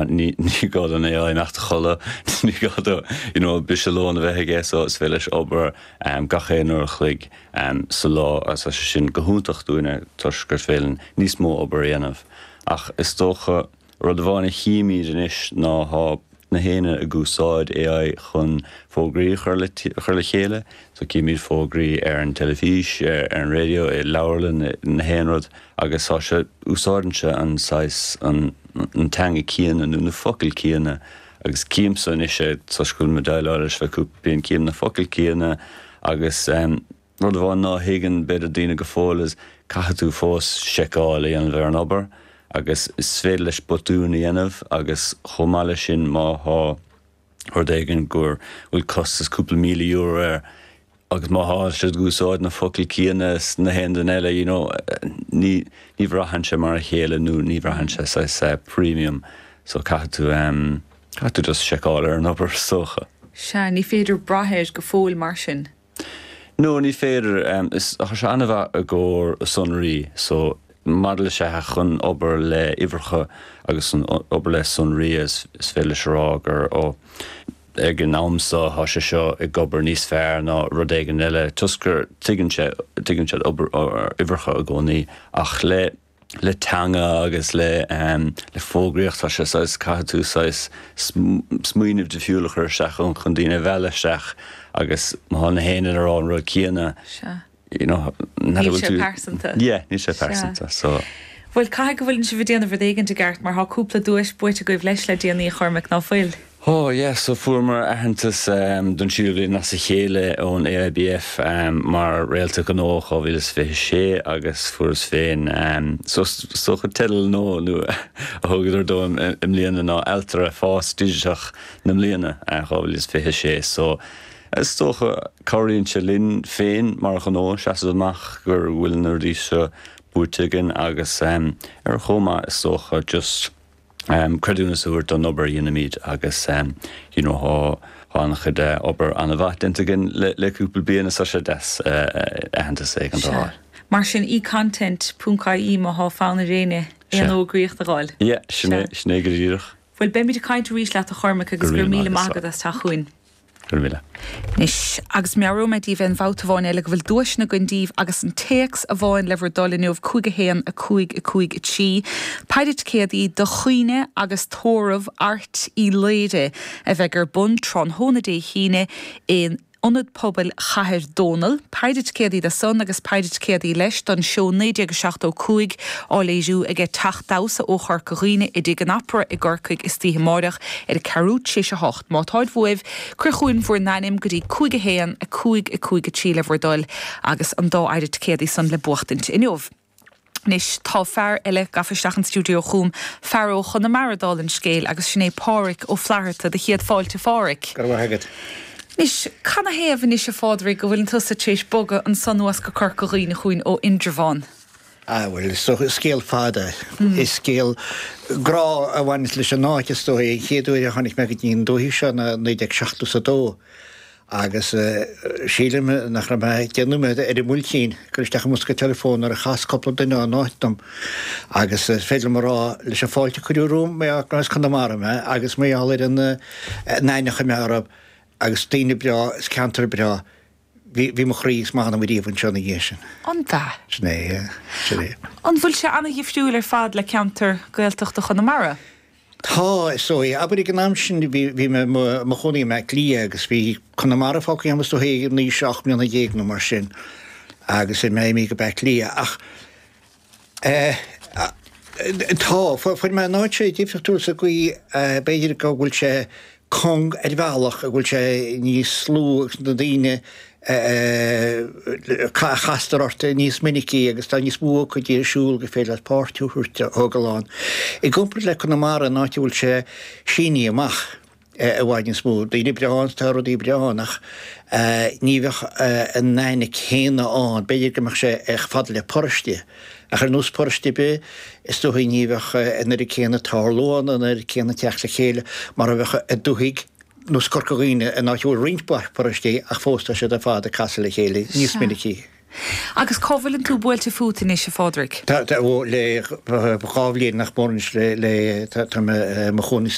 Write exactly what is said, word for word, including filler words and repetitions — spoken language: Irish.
Ní gá don A I imeacht a chodladh, ní gá dó you know, briseadh lóin a bheith aige, so is féidir leis obair um, gach aon uair a chloig um, sa lá, agus tá sé sin go hiontach dúinne toisc gur féidir linn níos mó obair a dhéanamh. Ach is dócha rud amháin a chímid anois ná tá na daoine ag úsáid A I chun fógraí chur le chur le chéile, so címid fógraí ar an teilifís, ar an raidió, i leabharlann, na haon rud, agus tá sé úsáideann sé an saghas an, an teanga céanna nó na focail céanna, agus címse anois é toisc go bhfuil mé déileáil leis le cúpla bliain, cím na focail céanna agus um, rud amháin ná thuigeann b'fhéidir daoine go fóill is caithfidh tú fós seiceáil a dhéanamh ar an obair agus is féidir leis botún a dhéanamh, agus chomh maith leis sin, má thá rud éigin gur bhfuil costas cúpla míle euro air agus má thá siad ag úsáid na focail céanna is na haon duine eile, you know, ní ní bhraitheann sé mar a chéile nó ní bhraitheann sé saghas uh, premium, so caithfidh tú um, caithfidh tú just seiceáil ar an obair, is dócha. Sea, ní féidir brath air go fóill mar sin. No, ní féidir. um, is tá sé an-mhaith i gcomhair sonraí, so maidir le sé chun obair le uimhreacha agus an obair le sonraí, is, is féidir leis a rá gur ó ag an am seo tá sé seo ag obair níos fearr ná rud éigin eile toisc gur tuigeann sé tuigeann sé obair uimhreacha i gcónaí, ach le le teanga agus le um, le fógraíocht tá sé saghas caithfidh tú saghas smaoineamh difriúil a chur isteach chun chun daoine a mhealladh isteach, agus má tá na haon ar an rud céanna Sea. you know, Níl sé pearsanta. Yeah, níl sé pearsanta, so Bhuel, caithfidh go bhfuil sibh ag déanamh rud éigin i gceart mar thá cúpla duais buaite agaibh leis le déanaí, a Chormaic, ná fuil? Oh yeah, so fuaireamar aitheantas um, don tríú bliain as a chéile ón A I B F um, mar réalta gnó dhá mhíle is fiche sé, agus fuaireas féin um, so so teideal nó nó a thugadar dom i mbliana ná Ailtire Fás Digiteach na mbliana uh, dhá mhíle is fiche sé. So is dócha cabhraíonn sé linn féin mar ghnó seasamh amach gur bhfuil na rudaí seo buaite againn, agus um, ar chomh maith is dócha just um, creidiúnas a thabhairt don obair a dhéanaimid, agus um, you know, thá an-chuid uh, obair an-mhaith déanta againn le, le cúpla bliain is sé deas uh, aitheantas ag an dáil. Mar sin eContent ponc I E má thá fonn ar éinne aon fhógraíocht a fháil. Yeah, sin é go díreach. Bhuel, beimid ag caint arís leat, a Chormaic, agus gur míle maith agat as teacht chugainn. Go míle. Anois, agus meabhróidh mé daoibh an babhta amháin eile go bhfuil duaiseanna againn daoibh, agus an téacs amháin le bhur dtoil inniu cúig a haon a cúig a cúig a trí. Péire ticéadaí do chaoineadh agus tórramh Airt Uí Laoire a bheidh ar bun tráthnóna Dé hAoine in Ionad Pobail Chathair Dónall. Péire ticéadaí do san agus péire ticéadaí leis don seó naoi déag seachtó cúig á léiriú ag Teach Damhsa ó Chorca Dhuibhne i dTigh an Opera i gCorcaigh istoíche amárach ar a ceathrú tar éis a hocht. Má táid uaibh, cuir chugainn bhur n-ainm go dtí cúig a haon a cúig a cúig a trí le bhur dtoil agus an dá phéire ticéadaí san le buachtaint inniu. Anois tá fear eile gafa isteach an stiúideo chugam, fear ó Chonamara dála an scéil, agus sin é Páraic Ó Flatharta. Do chéad fáilte, Pháraic. Go raibh agat. Anois, canathaobh anois, a Phádraig, go bhfuil tusa tar éis bogadh ansan anuas go Corca Dhuibhne chugainn ó Indreabhán? Ah, well, so scéal fada mm. Is scéal grá a bhaineas leis an áit, is dóigh. An chéad uair a tháinig mé go dtí an dúiche seo ná naoi déag seachtó a dó, agus uh, sílim nach raibh mé déanamh ar an muilcín gur isteach i mbosca telefón ar a chas cúpla duine an áit dom, agus uh, féidir rá leis an fáilte cuireadh romham mé as Conamara mé agus mé ar an nainine me arab agus daoine breá is ceantar breá. Bhí bhí mo chroí is m'anam riamh anseo ina dhiaidh sin. An ea? Sin é, sin é. An bhfuil sé an-dhifriúil ar fad le ceantar Gaeltachta Chonamara? Tá, so abair ag an am sin bhí bhí mé mo chónaí i mBaile Átha Cliath agus bhí Conamara fágtha agam ag naoi seacht mbliana déag nó mar sin agus i mé go Baile Átha Cliath, ach eh, tá fuair mé an áit sé difriúil sa gcaoi b'fhéidir go bhfuil sé cúng ar bhealach, go bhfuil sé níos lú agus na daoine chastar ort níos minicí agus tá níos mó ócáidí ar siúl go féidir leat páirt a thógáil ann. I gcomparáid le Conamara, an áit a bhfuil sé sínithe amach i bhfad níos mó, daoine breá, tá rudaí breá, ach ní bheadh an aithne céanna ann, b'fhéidir go mbeadh sé ag fad le paróiste. Ach ar nós paróiste be is dóigh ní bheadh an oiread céanna tarlú ann, an oiread céanna teacht le chéile mar a bheadh i dúthaigh nós Corca Dhuibhne, in áit bhfuil roinnt paróistí ach fós tá siad ar fad ag casadh le chéile níos minicí. Agus cá bhfuileann tú buailte fút anois a Phádraig? Tá ó le dhá bhliain nach mór le le tá mo chónaí